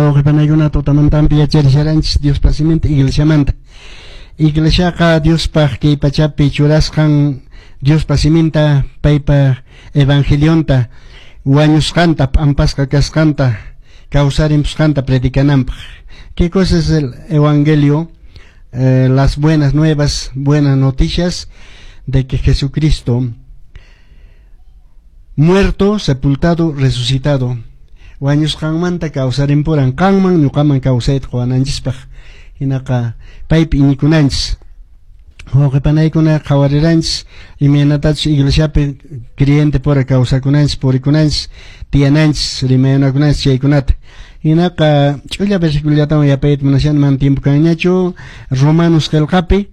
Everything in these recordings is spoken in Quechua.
Wawqipanaykuna, tutamantampi yacharisharanchis Diospa siminta, iglesiamanta. Iglesiaqa Diospaq kay pachapi churasqan Diospa siminta, paypa evangelionta, wañusqanta, p'ampasqa kasqanta, kawsarimpusqanta predicananpaq. ¿Qué cosa es el evangelio? Las buenas nuevas, buenas noticias de que Jesucristo muerto, sepultado, resucitado. Wañusqanmanta kawsarimpuran qanman ñuqaman kawsayta quwananchispaq, hinaqa paypi iñikunanchis. Wawqipanaykuna, qhawariranchis imaynatachus iglesiapi creyente pura kawsakunanchis, purikunanchis, tiyananchis, rimayanakunanchis chaykunata. Hinaqa ch'ulla versiculollatawan yapayta munashan, mana tiempo kanñachu. Romanos qillqapi,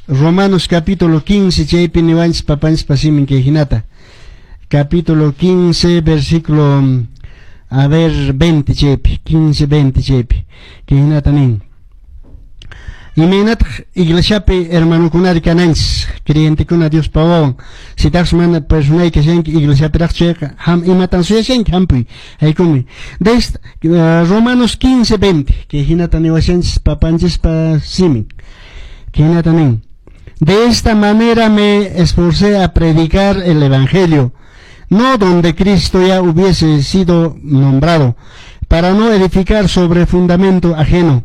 Romanos capítulo 15, chaypi niwanchis papanchispa simin kay hinata. Capítulo 15, versículo, a ver, 20 chaypi, 15, 20 chaypi. Kay hinata nin. Imaynataq iglesiapi hermanokunari kananchis, creyentekuna Diospa wawan? Sitaqsi mana personay kashanki iglesiapiraq chayqa, ham imatan suyashanki? Hampuy, haykumi. Desde Romanos 15, 20, kay hinata niwashanchis papanchispa simin. Kay hinata nin. De esta manera me esforcé a predicar el evangelio, no donde Cristo ya hubiese sido nombrado, para no edificar sobre fundamento ajeno,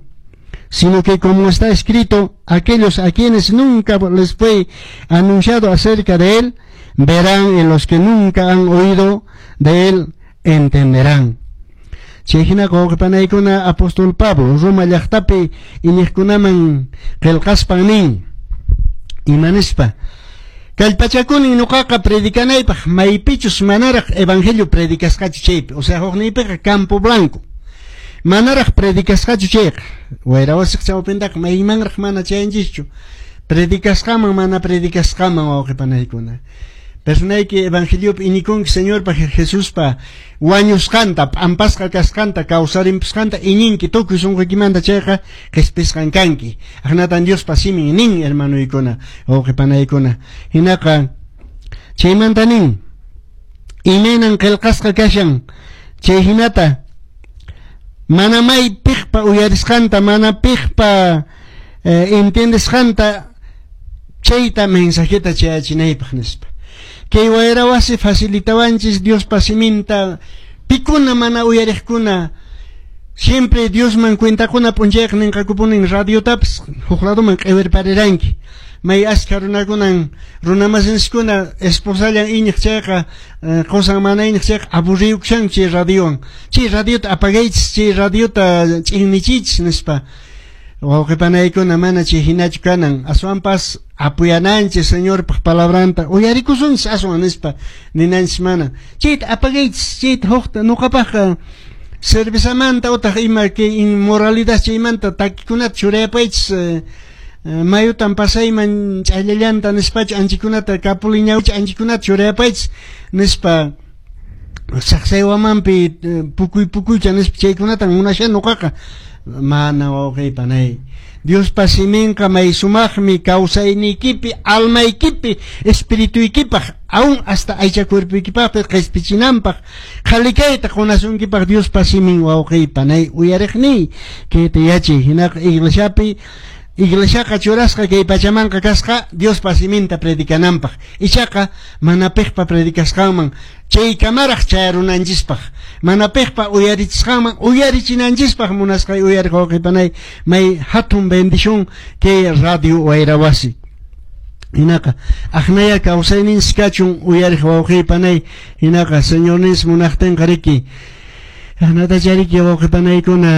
sino que, como está escrito, aquellos a quienes nunca les fue anunciado acerca de él, verán, en los que nunca han oído de él, entenderán. Chay hinaqa, wawqipanaykuna, apóstol Pablo Roma llaqtapi iñiqkunaman qillqaspan nin ima nispa: kallpachakuni ñuqaqa predicanaypaq maypichus manaraq evangelio predicasqachu chaypi, o sea, hukniypiqa campo blanco manaraq predicasqachu chayqa. Wayra wasiq chawpintaqa maymanraq mana chayanchischu, predicasqaman mana predicasqaman. Wawqipanaykuna, personayki evangeliopi iñikunki, Señorpa Jesuspa wañusqanta, p'ampasqa kasqanta, kawsarimpusqanta iñinki tukuy sunquykimanta chayqa, qhispisqan kanki. Aqnatan Diospa simin nin, hermanoykuna, wawqipanaykuna. Hinaqa chaymanta nin: imaynan qillqasqa kashan chay hinata, mana may piqpa uyarisqanta, mana piqpa entiendesqanta chayta mensajeta chayachinaypaq nispa. Kay wayra wasi facilitawanchis Diospa siminta pikuna mana uyariqkuna. Siempre Diosman cuentakuna p'unchayqa ninqakupunin: radiotapas huk ladoman q'iwirpariranki. May askha runakunan, runamasinchiskuna, esposallan iñiq chayqa, qusan mana iñiq chayqa, aburriyukushanku chay radiowan. Chay radiota apagaychis, chay radiota ch'innichiychis nispa. Wawqipanaykuna, mana chay hinachu kanan, aswanpas apoyananchis Señorpaq palabranta, uyarikusunchis aswan nispa ninanchis. Mana chayta apagaychis, chayta hukta, nuqapaqqa cervezamanta utaq ima kay inmoralidad chaymanta takikunata churayapaychis, mayutan pasayman ch'allallanta nispachu anchikunata, kapuli ñawcha anchikunata churayapaychis nispa, saqsaywamanpi pukuy pukuycha nispa, chaykunatan munashan nuqaqa. Mana, wawqiy, panay, Diospa siminqa may sumaqmi kawsayniykipi, almaykipi, espirituykipaq, aún hasta aycha cuerpoykipaqpi qhispichinanpaq, qhalikayta qunasunkipaq Diospa simin. Wawqiy, panay, uyariqniy, kayta yachay. Hinaqa iglesiapi, iglesiaqa churasqa kay pachamanqa kasqa Diospa siminta predicananpaq, ichaqa mana piqpa predicasqanman chaykamaraq chayarunanchispaq, mana piqpa uyarichisqanman uyarichinanchispaq. Munasqay uyariq wawqipanay, may hatun bendición kay radio wayra wasi. Hinaqa aqnaya kawsayninchis kachun, uyariq wawqipanay. Hinaqa Señorninchis munaqtinqa riki, aqnatachariki, wawqipanaykuna.